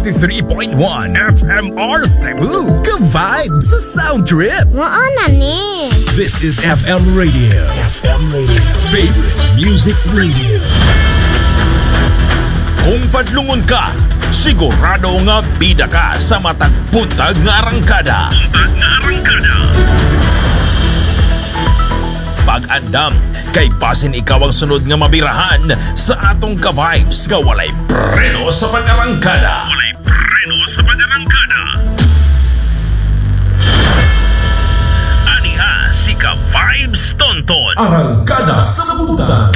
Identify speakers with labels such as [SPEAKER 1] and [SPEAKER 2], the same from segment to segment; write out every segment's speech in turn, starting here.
[SPEAKER 1] 93.1 FMR Cebu. Good vibes sa Sound Trip.
[SPEAKER 2] Mao na ni.
[SPEAKER 1] This is FM Radio. FM Radio. Favorite Music Radio. Kung padlungon ka, sigurado nga bida ka sa matag buntag nga arangkada. Pag-andam, kay basin ikaw ang sunod nga mabirahan sa atong ka-vibes nga walay preno sa pag-arangkada. Walay preno sa pag-arangkada. Aniha si Ka-Vibes Tonton.
[SPEAKER 3] Arangkada sa Buntag.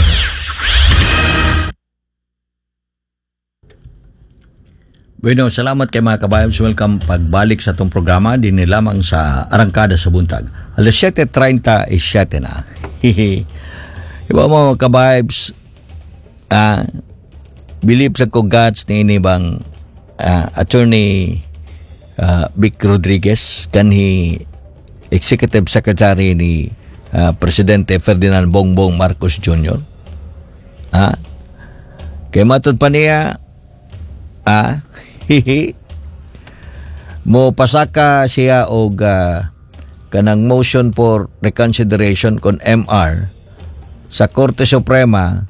[SPEAKER 4] Bueno, salamat kay mga kabayan. Welcome pagbalik sa atong programa din lamang sa Arangkada sa Buntag. Alas 7:37 na. Hihi. Iba mo mga kabibes, believe sa ko God's ni ini bang Attorney Vic Rodriguez kanhi Executive Secretary ni Presidente Ferdinand Bongbong Marcos Jr. Kay matod pa niya, hihi, mo pasaka siya og kanang motion for reconsideration kon MR sa Korte Suprema,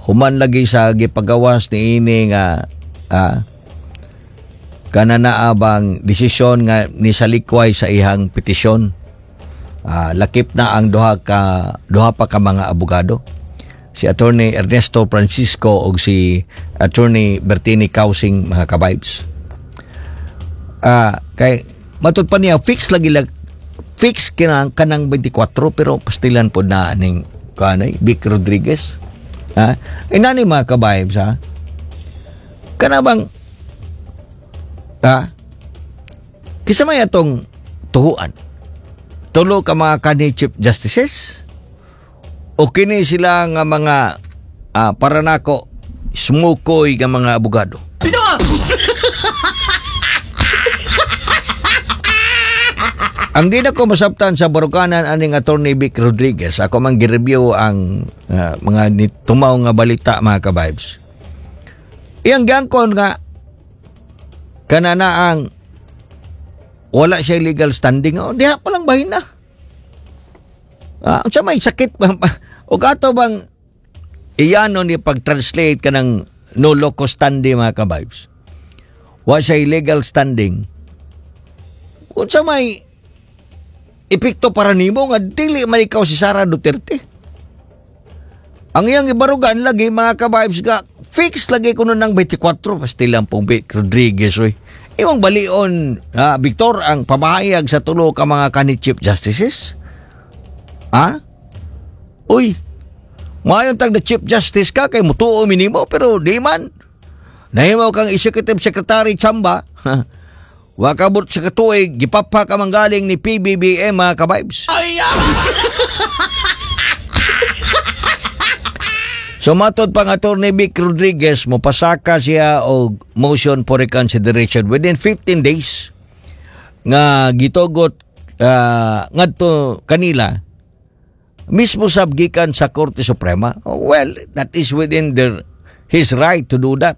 [SPEAKER 4] human lagi sa gipagawas ni ini nga kanana bang desisyon nga nisalikway sa ihang petisyon. Lakip na ang duha pa ka mga abogado, si Attorney Ernesto Francisco og si Attorney Bertini Causing, mga kabibes. Kay matud pa niya fix lagi lag fix kinang kanang 24, pero pastilan pod na aning kanay Vic Rodriguez. Ha? Inani mga kabibes, ha? Kana bang kisa may atong tuhuan? Tulo ka mga kanhi Chief Justices? O kini sila nga mga para nako smukoy nga mga abogado? Ang di na ko masabtan sa barukanan aning Attorney Vic Rodriguez, ako man gi-review ang mga tumaw nga balita, mga kabibes. Iyang gangkon nga kanana ang wala siya legal standing. Oh, diha pa lang bahin na. Unsa may sakit ba? O ato bang iyano ni pag-translate ka ng no locus standi, mga kabibes? Wa siya legal standing. Unsa may epekto para nimo nga dili man ikaw si Sara Duterte? Ang iyang ibarugan lagi, mga kabibes, nga fix lagi kuno ng 24. Pastilan pong Vic Rodriguez, oy. Imong balion, Victor, ang pamahayag sa tulo ka mga kanhi Chief Justices. Ha? Uy, mayon tag the Chief Justice ka kay mutuo minimo, pero di man. Nahimo kang Executive Secretary Chamba. Wa kabot sa katuig, gipapa ka manggaling ni PBBM, mga kabibes. So matod pang Attorney Vic Rodriguez, mopasaka siya og motion for reconsideration within 15 days nga gitugot ngadto kanila mismo sab gikan sa Korte Suprema. Well, that is within his right to do that.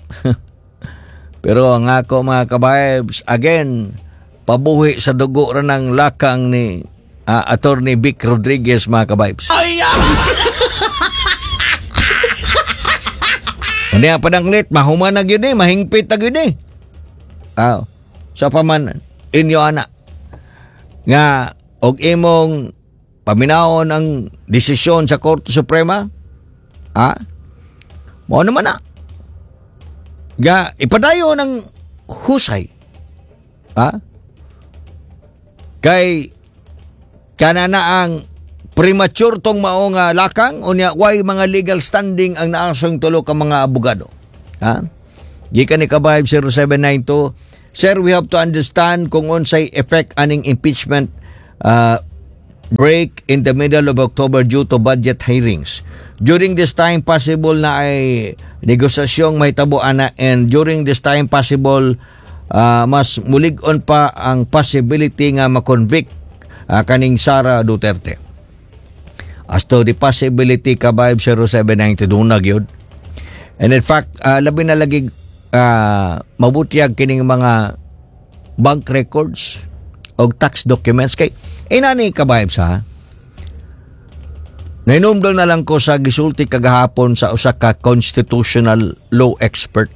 [SPEAKER 4] Pero ang ako, mga kabibes, again, pabuhi sa dugo ra ng lakang ni Attorney Vic Rodriguez, mga kabibes. Hindi ang pananglit, mahuman na gyud mahingpit na gyud eh. Sa paman inyo ana nga og imong paminawon ang desisyon sa Korte Suprema, mao naman na. Ga ipadayon ang husay. Kay kanana ang premature tong mao nga lakang, unya way mga legal standing ang naasong tulo ka mga abogado. Ha? Gikan ni Kabayb 0792, "Sir, we have to understand kung unsay effect aning impeachment break in the middle of October due to budget hearings. During this time, possible na ay negosasyong mahitabo ana, and during this time possible mas mulig-on pa ang possibility nga ma-convict kaning Sara Duterte." As to the possibility, Kabayb 0792, dunag yun. And in fact, labi na lagi mabutyag kining mga bank records o tax documents kay inani, ka-vibes, ha. Nahinumdum na lang ko sa gisulti kagahapon sa usa ka constitutional law expert,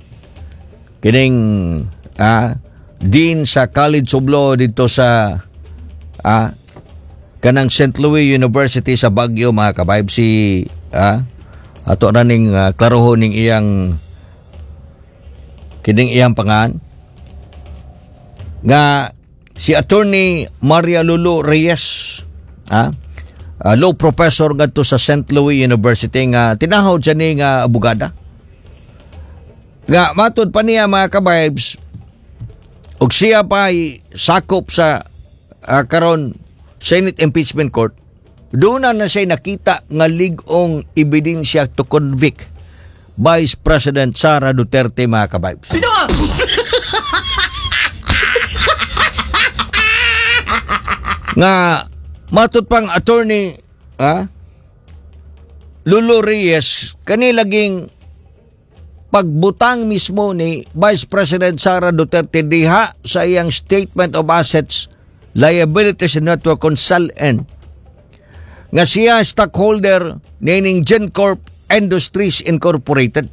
[SPEAKER 4] kining dean sa College of Law dito sa kanang St. Louis University sa Baguio, mga ka-vibes. Si ato na ning klarohon ning iyang kining iyang pangan nga si Attorney Maria Lulu Reyes, law professor ngadto sa St. Louis University nga tinahod siya ni nga abogada, nga matud pa niya, mga ka-vibes, ug siya pa ay sakop sa karon Senate Impeachment Court, doon na na siya nakita nga lig-ong ebidensya to convict Vice President Sara Duterte, mga ka-vibes.
[SPEAKER 3] Pinoa!
[SPEAKER 4] Nga matud pang Attorney Lulu Reyes, kani laging pagbutang mismo ni Vice President Sara Duterte diha sa iyang Statement of Assets, Liabilities and Network Consultant nga siya stockholder nining GenCorp Industries Incorporated.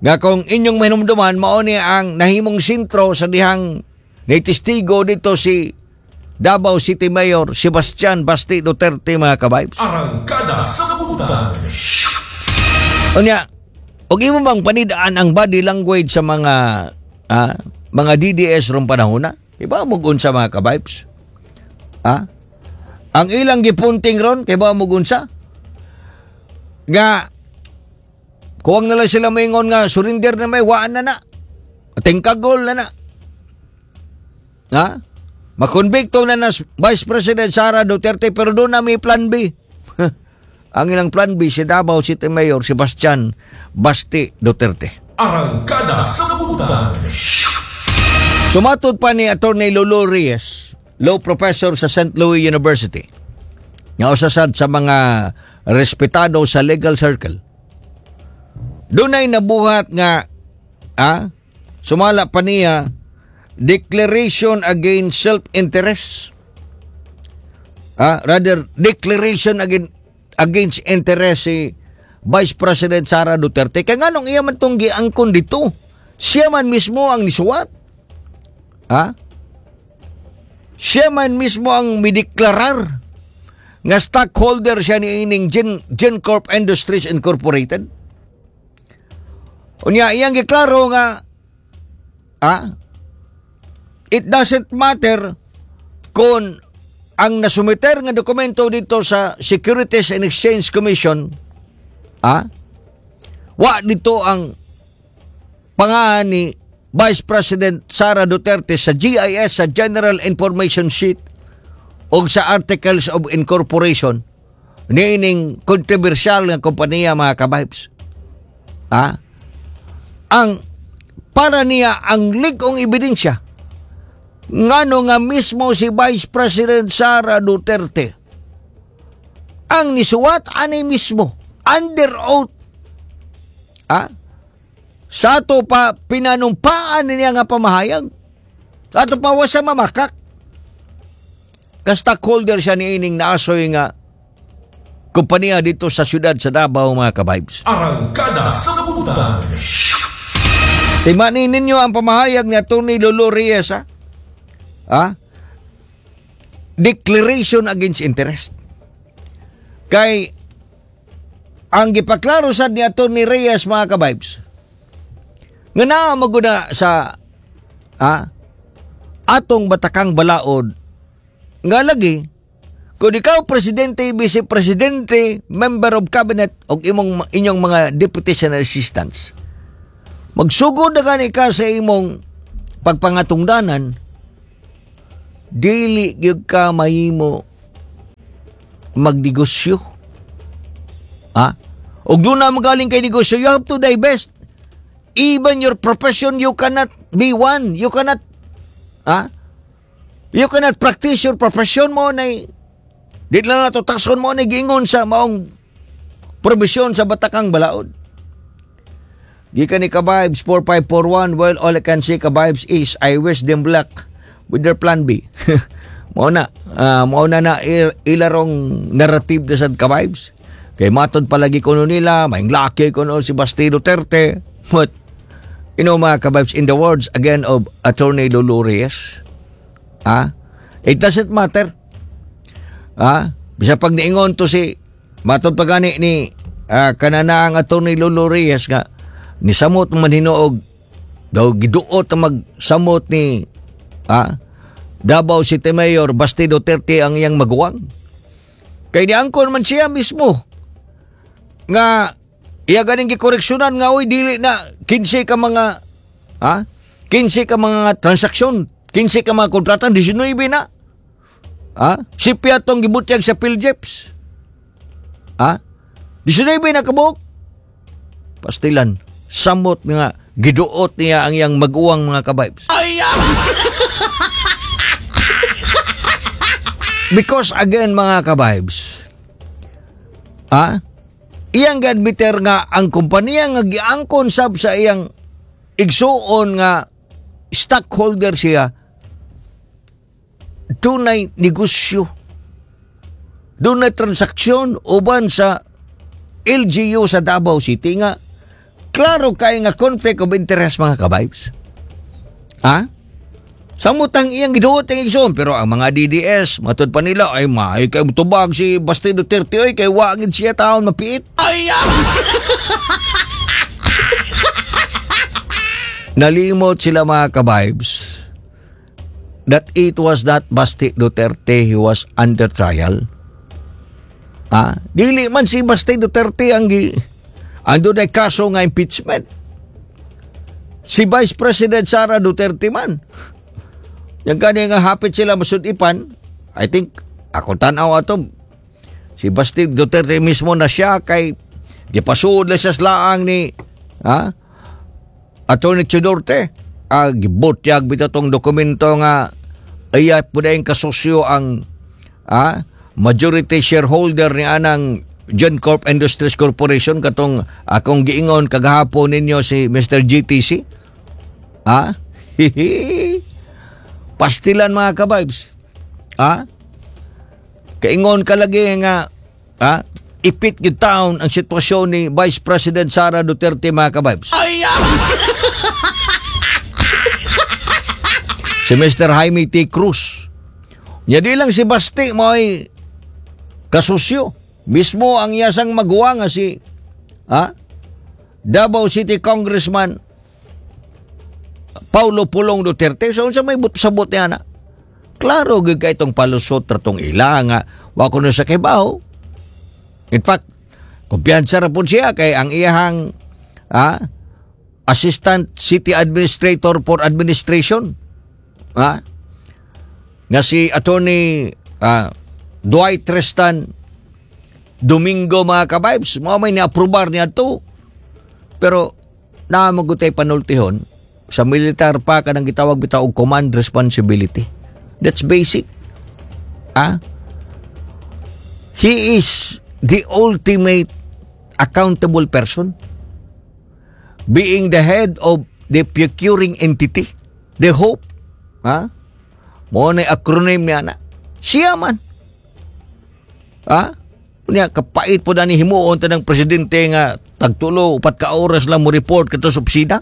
[SPEAKER 4] Nga kung inyong mahinumduman, mao ni ang nahimong sentro sa dihang nitestigo dito si Davao City Mayor Sebastian Basti Duterte, mga ka-vibes.
[SPEAKER 3] Arangkada sa Butan.
[SPEAKER 4] Unya, og imo bang panidaan ang body language sa mga DDS rong panahona? Iba mo unsa, mga ka-vibes? Ah? Ang ilang gipunting ron, kay ba mo unsa? Nga kuwang na lang sila maingon nga surrender na, may waan na na. Tingkagol na na. Ha? Makonbikto na na Vice President Sara Duterte, pero doon na may plan B. Ang ilang plan B, si Davao City Mayor Sebastian Basti Duterte.
[SPEAKER 3] Arangkada sa Butan.
[SPEAKER 4] Sumatod pa ni Attorney Lolo Reyes, law professor sa St. Louis University, nga usa sad sa mga respetado sa legal circle. Dunay nabuhat nga sumala pa niya, declaration against self-interest. Rather declaration against interest si Vice President Sara Duterte. Kaya nganong iya man tong giangkon dito? Siya man mismo ang nisuwat. Ha? Siya man mismo ang mideklarar nga stockholder siya ni ining GenCorp Industries Incorporated. Unya, iyang giklaro nga it doesn't matter kung ang nasumiter nga dokumento dito sa Securities and Exchange Commission, wa dito ang pangalan ni Vice President Sara Duterte sa GIS, sa General Information Sheet o sa Articles of Incorporation niining controversial nga kompanya, mga ka-vibes. Ang para niya, ang lig-ong ebidensya ngano nga mismo si Vice President Sara Duterte ang nisuwat ani mismo under oath, sa ato pa pinanumpaan niya nga pamahayag, sa ato pa wa sa mamakak ka stockholder siya niining naasoy nga kompanya dito sa siyudad sa Davao, mga ka-vibes.
[SPEAKER 3] Arangkada sa Butan.
[SPEAKER 4] Timanin ninyo ang pamahayag ni Atty. Lolo Reyes, ha? Ha? Declaration against interest. Kay ang gipaklaro sad ni Atty. Reyes, mga ka-vibes, nga naa maguna sa atong batakang balaod nga lagi kung ikaw presidente, vice presidente, member of cabinet o imong inyong mga deputies and assistants, magsugod na gani ka sa imong pagpangatungdanan, dili gyud ka mahimo magnegosyo. Ha? Og doon na magaling kay negosyo, you have to divest. Even your profession, you cannot be one. You cannot, ha? You cannot practice your profession mo na di lang nato takson mo na giingon sa maong probisyon sa batakang balaod. Gikan ni Kabibes 4541, well, all I can say, Kabibes, is I wish them luck with their plan B. Mao na, mao na na ilarong narrative na sad, Kabibes. Kay matod palagi kuno nila, may laki kuno si Basti Duterte. But, mga Kabibes, in the words again of Attorney Lulu Reyes, it doesn't matter. Bisa pag niingon to si, matod pa gani ni kanana ang Attorney Lulu Reyes nga, nisamot man hinuog daw giduot ang magsamot ni Davao City Mayor Basti Duterte ang iyang maguwang. Kay niangkon man siya mismo nga iya ganing gikoreksyonan nga oy dili na 15 ka mga 15 ka mga transaksyon, 15 ka mga kontrata, 19 na. Sipya tong gibutyag sa PhilGEPS. 19 na kabuok. Pastilan, samot nga giduot niya ang iyang maguwang, mga kabibes. Because again, mga kabibes, iyang gadmiter nga ang kompanya nga giangkon sab sa iyang igsuon nga stockholder siya, dunay negosyo, dunay transaksyon uban sa LGU sa Davao City nga klaro kay nga conflict of interest, mga kabibes. Samutang iyang giduot ang igsoon, pero ang mga DDS matud pa nila ay maay kay tubag si Basti Duterte oy kay wa gid siya taon mapiit. Nalimot sila, mga kabibes, that it was not Basti Duterte who was under trial. Dili man si Basti Duterte ang ando na kaso nga impeachment. Si Vice President Sara Duterte man. Yang gani nga hapit sila masudipan, I think ako tanaw ato si Basti Duterte mismo na siya kay gipasuod lang siya laang ni Attorney Chudorte. Gibutyag bitaw tong dokumento nga ayat po na yung kasosyo ang majority shareholder ni anang John Corp Industries Corporation katong akong giingon kagahapon ninyo si Mr. GTC. Pastilan, mga kabibes. Kaingon ka lagi nga ipit gyud taon ang sitwasyon ni Vice President Sara Duterte, mga kabibes. Si Mr. Jaime T. Cruz. Nya di lang si Basti mo'y kasusyo. Mismo ang iyasang maguwa nga si Davao City Congressman Paulo Pulong Duterte. So unsa may sabot niya na? Klaro gyud kay itong palusot ra tong ila nga wa ko na sa kibaw. In fact, kumpiyansa ra pud siya kay ang iyahang Assistant City Administrator for Administration nga si Attorney Dwight Tristan Domingo, mga kabibes, mao may ni-aprobar niya to. Pero naamagutay panultihon sa militar pa kanang gitawag bitaw og command responsibility. That's basic. He is the ultimate accountable person. Being the head of the procuring entity, the HOPE. Mo na acronym niya na. Siya man. Unya kapait po na ni himuon ta ng presidente nga tagtulo 4 ka oras lang mo report kadto sa opisina.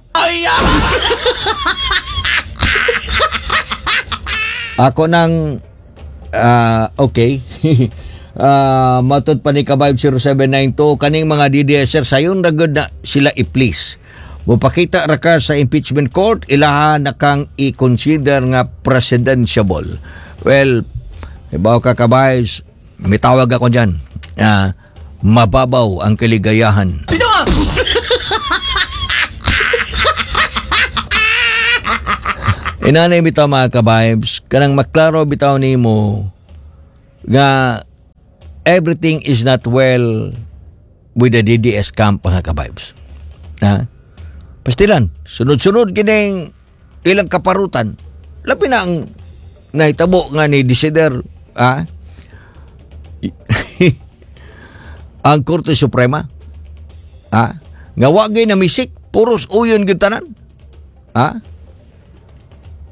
[SPEAKER 4] Ako nang okay. Matod pa ni Kabayb 0792 kaning mga DDSer sayon ra gud na sila i-please. Mopakita ra ka sa impeachment court, ilaha na kang i-consider nga presidentiable. Well, ibaw ka, Kabays, may tawag ako dyan. Mababaw ang kaligayahan. Inanay bitaw, mga kabibes, kanang maklaro bitaw nimo nga everything is not well with the DDS camp, mga kabibes. Ha? Pastilan, sunod-sunod kining ilang kaparutan. Labi na ang nahitabo nga ni Desider, ang Korte Suprema, nga wagay na misik. Puros uyon gyud tanan. Ha?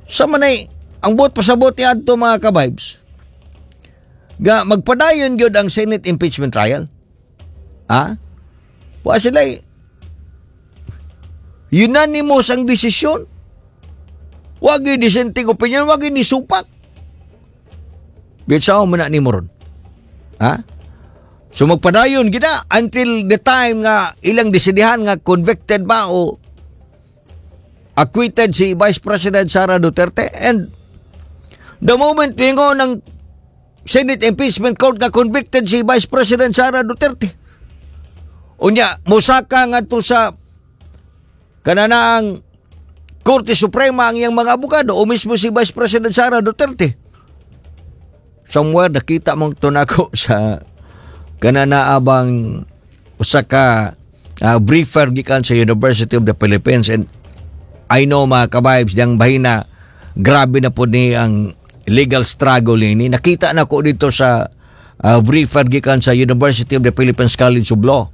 [SPEAKER 4] Sa manay ang buot pasabot ni adto, mga ka-vibes, ga magpadayon gyud ang Senate impeachment trial. Ha? Wa sila unanimous ang desisyon. Wa gyud dissenting opinion, wa gyud ni supak. Bitsaw man na nimo ron. Ha? So magpadayon gida until the time nga ilang desidihan nga convicted ba o acquitted si Vice President Sara Duterte. And the moment ningo ng Senate Impeachment Court nga convicted si Vice President Sara Duterte, unya musaka ngadto sa kananaang Korte Suprema ang iyang mga abogado o mismo si Vice President Sara Duterte, somewhere nakita mong tunako sa kanana abang usa ka briefer gikan sa University of the Philippines. And I know, mga ka-vibes, diyang bahina grabe na po ni ang legal struggle ini. Nakita na ko dito sa briefer gikan sa University of the Philippines College of Law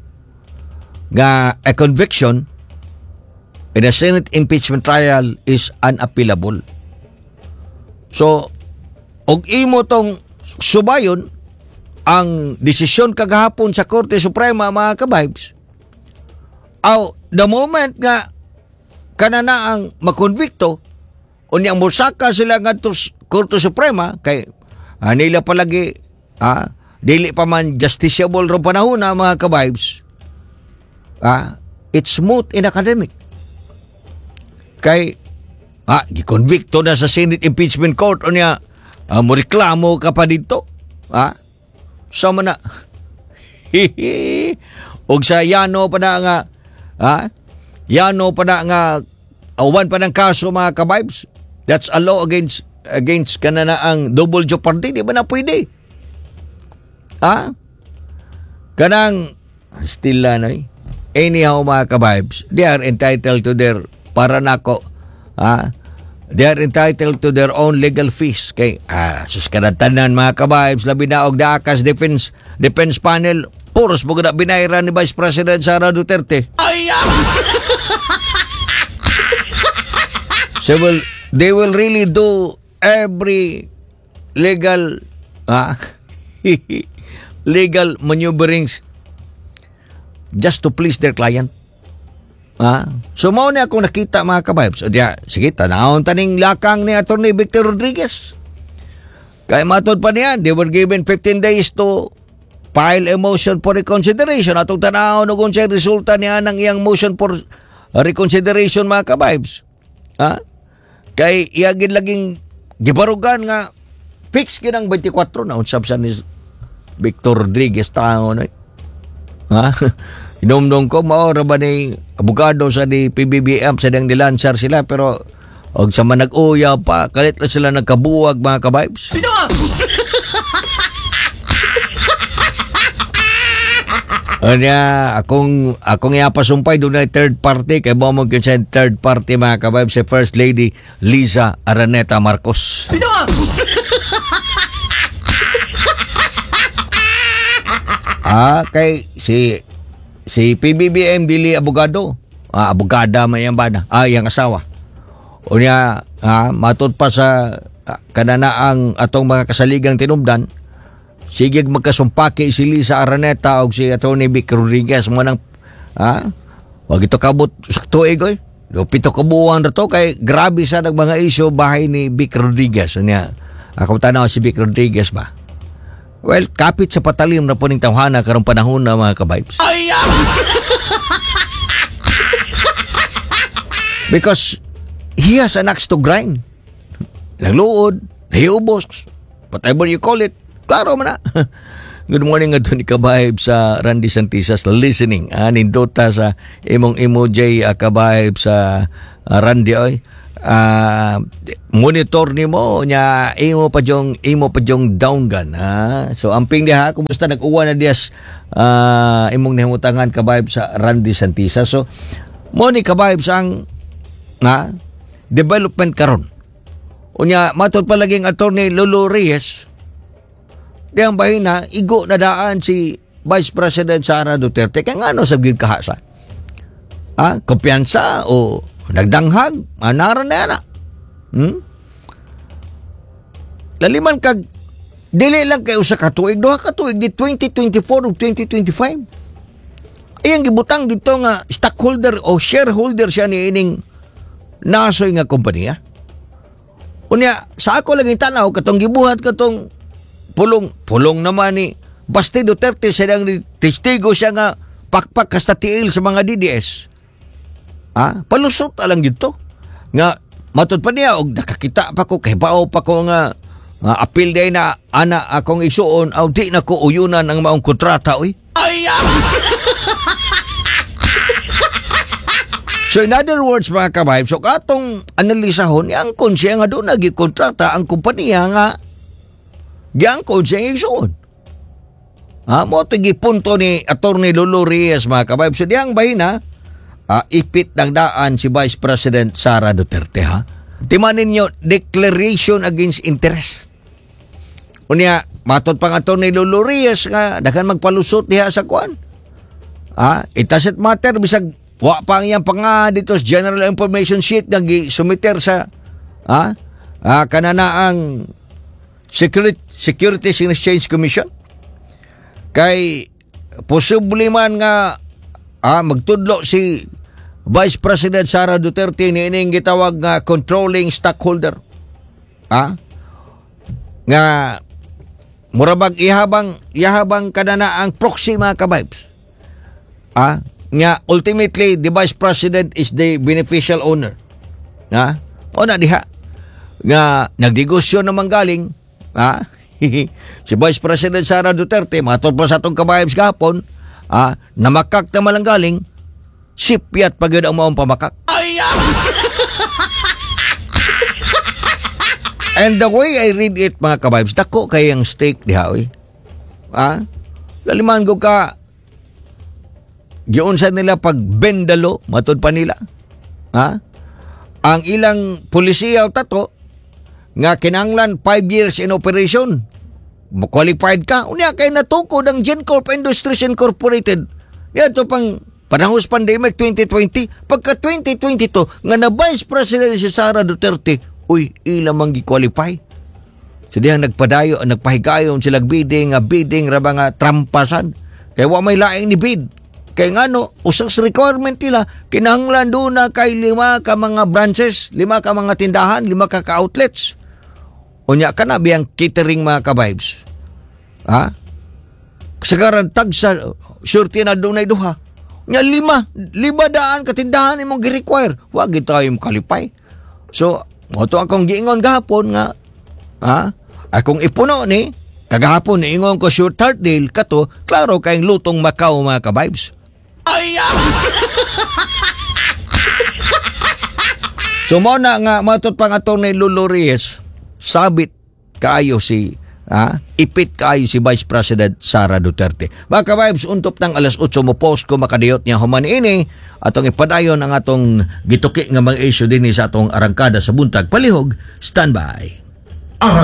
[SPEAKER 4] nga a conviction in a Senate impeachment trial is unappealable. So, og imo tong subayon ang desisyon kagahapon sa Korte Suprema, mga ka-vibes, aw the moment nga kanana ang makonvikto, unya mosaka sila ngadto sa Korte Suprema kay nila palagi dili pa man justiciable ro panahon na, mga ka-vibes, it's moot in academic kay gikonvikto na sa Senate Impeachment Court, unya mo reklamo ka pa dito. Sama na og sa yano pa na nga yano pa na nga uban pa ng kaso, mga ka-vibes, that's a law against kanana ang double jeopardy. Di ba na pwede kanang still na eh. Anyhow, mga ka-vibes, they are entitled to their, para nako they are entitled to their own legal fees kay sus, tanan, mga ka-vibes, labi na og Dakas defense panel, puros mo na binayran ni Vice President Sara Duterte.
[SPEAKER 1] Ay!
[SPEAKER 4] So they will really do every legal maneuverings just to please their client. So mao ni akong nakita, mga ka-vibes. So diya, sige, tanawon taning lakang ni Attorney Victor Rodriguez. Kay matod pa niya, they were given 15 days to file a motion for reconsideration. Atong tanawon og unsay resulta niya ng iyang motion for reconsideration, mga ka-vibes. Ha? Kay iyagin laging gibarugan nga fix gyud ang 24 na unsab sa ni Victor Rodriguez tao na. Ha? Hinumdum ko mao ra ba ni abogado sa ni PBBM sa dang nilansar sila, pero og sa man nag-uya pa kalit lang sila nagkabuwag, mga ka-vibes. Anya, akong ipasumpay doon ay third party kay mo mo sa third party, mga ka-vibes, si First Lady Liza Araneta Marcos. Kay si si PBBM dili abogado. Abogada man iyang bana. Iyang asawa. Unya, matud pa sa kananaang atong mga kasaligang tinubdan, sige magkasumpaki si Liza Araneta og si Atty. Vic Rodriguez mo nang wag ito kabot sa tuig oy. Do 7 ka buwan ra to kay grabe sa nag mga issue bahay ni Vic Rodriguez. Unya, ako tanaw si Vic Rodriguez ba? Well, kapit sa patalim na po ning tawhana karong panahon na, mga ka-vibes.
[SPEAKER 1] Ay!
[SPEAKER 4] Because he has an axe to grind. Nagluod, nahiubos, whatever you call it. Klaro man na. Good morning nga ni ka-vibe sa Randy Santisas listening. Nindota sa imong emoji, ka-vibe sa Randy oy. Monitor nimo nya imo pa jong down gun ha. So amping diha, kumusta, nag-uwan na diyas imong nahimutangan, ka-vibe sa Randy Santisa. So mo ni, ka-vibes, ang na development karon. Unya matod pa laging Attorney Lolo Reyes, diyang bahina igo na daan si Vice President Sara Duterte kay ngano sa gyud kahasa. Ah, kumpiyansa o nagdanghag, anara na na. Laliman kag dili lang kay usa ka tuig, duha ka tuig di 2024 ug 2025. Iyang gibutang dito nga stockholder o shareholder siya ni ining nasoy nga kompanya. Unya, sa ako lang tanaw katong gibuhat katong pulong pulong naman ni Basti Duterte, siya ang testigo siya nga pakpak kasta tiil sa mga DDS. Ah, palusot alang dito. Nga matud pa niya og nakakita pa ko kay bao pa ko nga nga apil day na ana akong igsuon aw di na ko uyunan ang maong kontrata, oy. So in other words, mga ka-vibes, so katong analisahon, giangkon siya nga doon nagikontrata ang kompanya nga giangkon siya ang igsuon. Ha, mo ito gipunto ni Attorney Lulu Reyes, mga ka-vibes. So diyang bahina, ipit ng daan si Vice President Sara Duterte, ha. Timanin ninyo, declaration against interest. Unya, matod pang Attorney Lulu Reyes nga daghan magpalusot diha sa kuan. Ah, it doesn't matter bisag wa pa ang iyang panga dito sa General Information Sheet nga gi-sumiter sa kanana ang Securities and Exchange Commission. Kay posible man nga magtudlo si Vice President Sara Duterte ni ining gitawag nga controlling stockholder. Nga murabag ihabang ihabang kanana ang proxy, mga ka-vibes. Nga ultimately the Vice President is the beneficial owner. Ha? O na diha nga nagnegosyo naman galing si Vice President Sara Duterte, matod pa sa atong ka-vibes gahapon, namakak na malang galing sipyat pa gyud ang maong pamakak. And the way I read it, mga ka-vibes, dako kay ang stake diha, oy. Laliman ko ka giunsa nila pag bendalo, matud pa nila. Ha? Ang ilang polisiya o tato nga kinanglan 5 years in operation. Qualified ka. Unya kay natukod ang GenCorp Industries Incorporated. Yan pang panahon sa pandemic 2020. Pagka 2022 nga na Vice President si Sara Duterte, uy, ila man gi-qualify. So dihang nagpadayo, nagpahigayon sila bidding, nga bidding ra ba nga trampasan. Kay wa may laing ni bid. Kay ngano, usas requirement nila, kinahanglan doon na kay 5 ka mga branches, 5 ka mga tindahan, 5 ka ka-outlets. Unya ka na biyang catering, mga ka-vibes. Ha? Kasagaran tagsa, surety na doon ay duha. Nya 5, 500 ka tindahan imong gi-require. Wa gid tayo makalipay. So, mo to akong giingon gahapon nga, ha? Akong ipuno ni, kagahapon niingon ko sure third deal kato, klaro kayong lutong Macau, mga ka-vibes. So mo na nga matod pang Attorney Lulu Reyes, sabit kaayo si ipit kaayo si Vice President Sara Duterte. Mga ka-vibes, untop ng alas 8 mo post ko makadiyot niya human ini atong ipadayon ang atong gituki nga mga issue dinhi sa atong arangkada sa buntag. Palihog, standby.
[SPEAKER 3] Arangkada.